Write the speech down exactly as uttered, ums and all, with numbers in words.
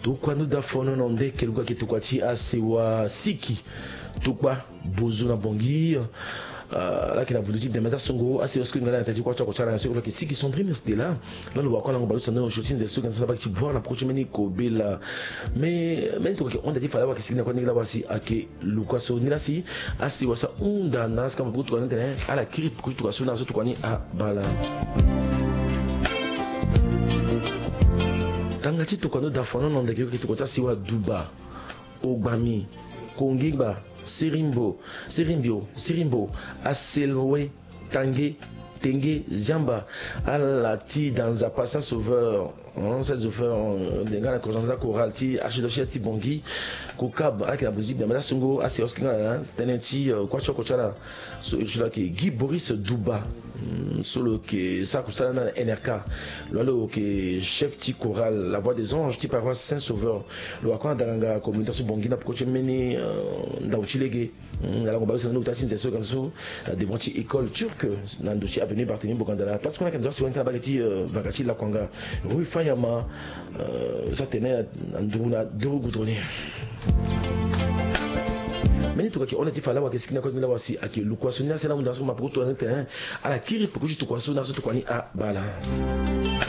Tokua ndo da fono na nde ke luka ke tokua ti asewa siki tokua bozo na bongi. Ala ke na bundu ti bembe ti asongo asewa siki ngala na teti kua ti oko ti ala na soko lo ke siki Sandrine Stella. Lalo wakua lango balusa ndo na osio ti nze so ke na so na baki ti voir na poko ti mbeni kobela. Me mbeni tokua ke honda ti fala wa ke siki na kua ndenge la wa si ake luka so ni la si asewa so ahunda na ala si kama poko tokua ni tene ala kiri poko ti tokua so na ala so tokua ni abala. Tanga ti tokua ndo da fono na ndeke yo ke tokua ti asewa duba, ogbami, kongingba, sirimbo, sirimbio, sirimbo, aselwe, tange, tenge, ziamba, ala ti danza pa saint sauveur. Saint sauveur denga na corgence da chorale ti archidiocèse ti bongi. Kokab ala ke na buzi biamba ti asongo asewa so ke nga na tënë ti kua ti oko ti ala. So iri ti lo ayeke Guy Boris Duba. So lo yeke sara kusala na nrk. Lo wali lo yeke chef ti chorale la voix des anges ti paroisse saint sauveur. Lo wakua na danganga communauté ti bongi na poko ti mbeni ndau ti lege. Na lango baleuse na ni ota ti nze so ganza so na devant ti école turque na ndo ti avenue Barthélemy Bogandala place kue na yeke na ndo ti asiwa ni ka na bage ti vaka ti lakuanga rue fayama. So atene na nduru na duru goudronnier. Mbeni tokua ke hon ti fa lawa ke siki na kue ti mbeni lawa si ayeke lukua so ni asi ala hunda na so ma poko tokua ni tene ala kiri poko ti tokua so na so tokua ni abala.